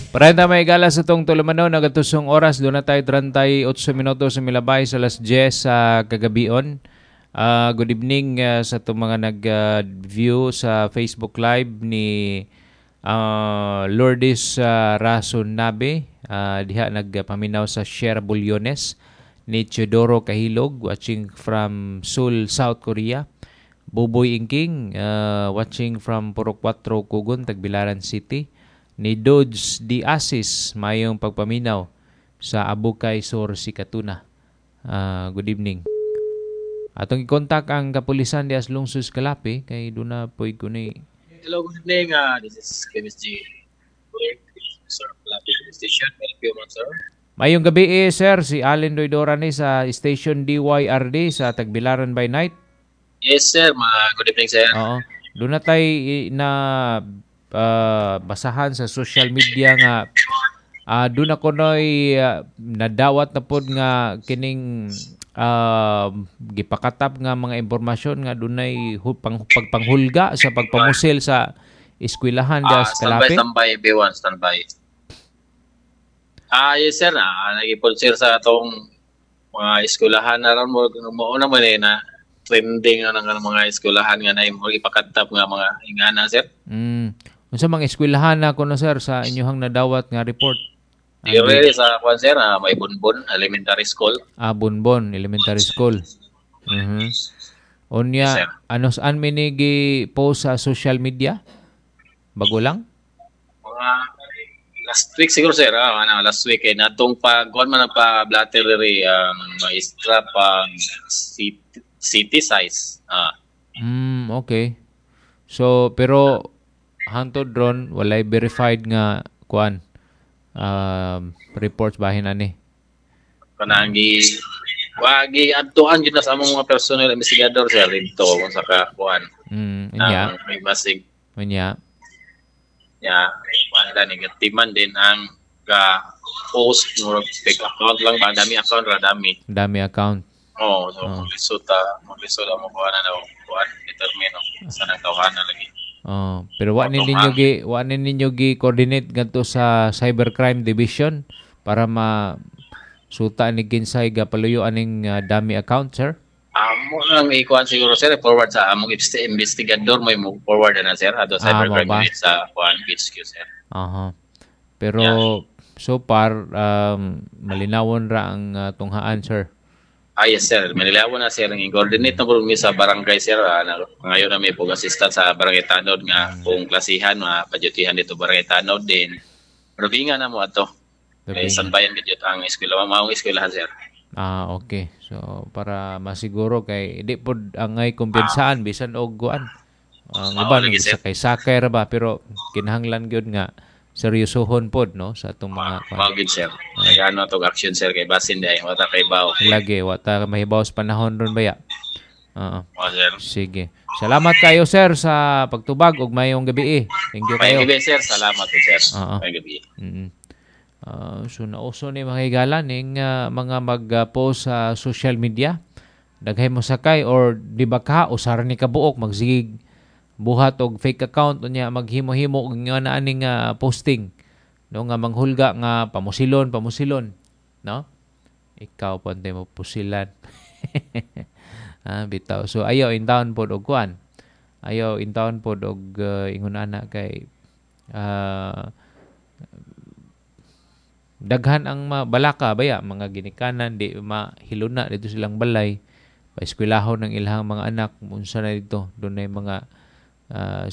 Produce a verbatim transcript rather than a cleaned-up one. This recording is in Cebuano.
Parenta may gala sa tong tulumanon, nagatusong oras, duna tayo trentay otso minuto sa milabay sa alas diyes sa kagabion. Ah, good evening ah, sa itong mga nag-view sa Facebook Live ni ah, Lourdes uh, Rasunabe, uh, diha nagpaminaw sa Sierra Bullones, ni Teodoro Kahilog, watching from Seoul, South Korea. Buboy Ingking, uh, watching from Purok kwatro Kugon, Tagbilaran City. Ni Dodge D. Asis, mayong pagpaminaw sa Abukay Sur, Sikatuna. Uh, good evening. Atong i-contact ang kapulisan di Lungsod Calape kay duna poy kuni. Hello, good evening. Uh, this is K M S G. Sir, Calape Police Station. Welcome, sir. Mayong gabi eh, sir, si Allen Doydora ni sa Station D Y R D sa Tagbilaran by Night. Yes, sir. Ma good evening, sir. Oo. Duna tay na uh, basahan sa social media nga uh, duna kunoy uh, nadawat na pod nga kining uh, gipakatap nga mga impormasyon nga dunay pang, pagpanghulga sa pagpamusil sa eskwelahan uh, sa Calape. Standby, standby, B one, standby. Ah, yes sir, ah, nagipon sir sa atong mga eskwelahan na ron mo mao naman eh na trending na ng mga eskwelahan nga na mo ipakatap nga mga ingana, sir. Mm. Unsa mga eskwelahan na kuno, sir, sa inyohang nadawat nga report? Dire sa kwan, sir, ah, may Bonbon Elementary School. Ah, Bonbon Elementary School. Mhm. Mm Unya, yes, sir. Ano saan mi ni post sa social media? Bago lang? Mga last week siguro, sir, ah, ano, last week eh natong pag kuan man pa blatter diri ang um, maestra pag city, city size. Ah. Mm, okay. So pero hantod ron walay verified nga kuan um, reports bahin ani. Kanang gi wagi adtuan jud na sa among mga personal investigador, sir, didto kung sa ka kuan. Mm, unya. Ang may basig. Unya. Ya, kuan negative man din ang ga post, murag fake account lang ba, dami account ra, dami. Dami account. Oh, so Oh. oh. Ta maglisod mo kuan na kuan determine sa nang tawhana lagi. Oh, pero wa ni ninyo gi wa ni ninyo gi coordinate ngadto sa Cybercrime Division para ma suta ni kinsay gapaluyo aning uh, dami account, sir? Amo lang ikuan siguro, sir, forward sa among investigador mo mo forward na, sir, ato Ah, cybercrime mo ba? Unit sa kuan H Q, sir. Aha. Pero so far um, malinawon ra ang uh, tunghaan, sir. Ah, yes, sir. Manilawan na, sir, ang coordinate na po mi sa barangay, sir. Ah, na, ngayon na may pog assistant sa barangay Tanod nga kung klasihan mga padyutihan dito barangay Tanod din. Rubinga na mo ato. Kay Rubinga. sanbayan gid ang eskwela, maong eskwelahan, sir. Ah, okay. So para masiguro kay di pod angay kumpiyansaan bisan og kuan. Ang Ah, uban lagi, sir. sakay-sakay ra ba, pero kinahanglan gyud nga seryosohon pod no sa atong mga kuan. Mao gid, sir. Kaya ano tog action, sir, kay basin di ay wata kay baw. Lagi wa ta mahibaw sa panahon ron baya. Oo. Mao, sir. Sige. Salamat kayo, sir, sa pagtubag ug mayong gabi eh. Thank you kayo. Mayong gabi, sir. Salamat po, sir. Oo. Mayong gabi. Mm. Ah, so nauso ni mga higala ning ah, mga mag-post sa social media. Daghay mo sakay or di ba ka usara ni kabuok magsigig buhat og fake account, unya maghimo-himo og nga na aning ah, posting no nga manghulga nga pamusilon pamusilon, no? Ikaw pante mo pusilan. Ah, bitaw. So ayaw in town pod og kuan, ayaw in town pod og uh, ingon ana kay ah, daghan ang mabalaka baya, mga ginikanan di mahiluna dito silang balay, paeskwelahon ng ilahang mga anak, unsa na dito, dunay mga ah,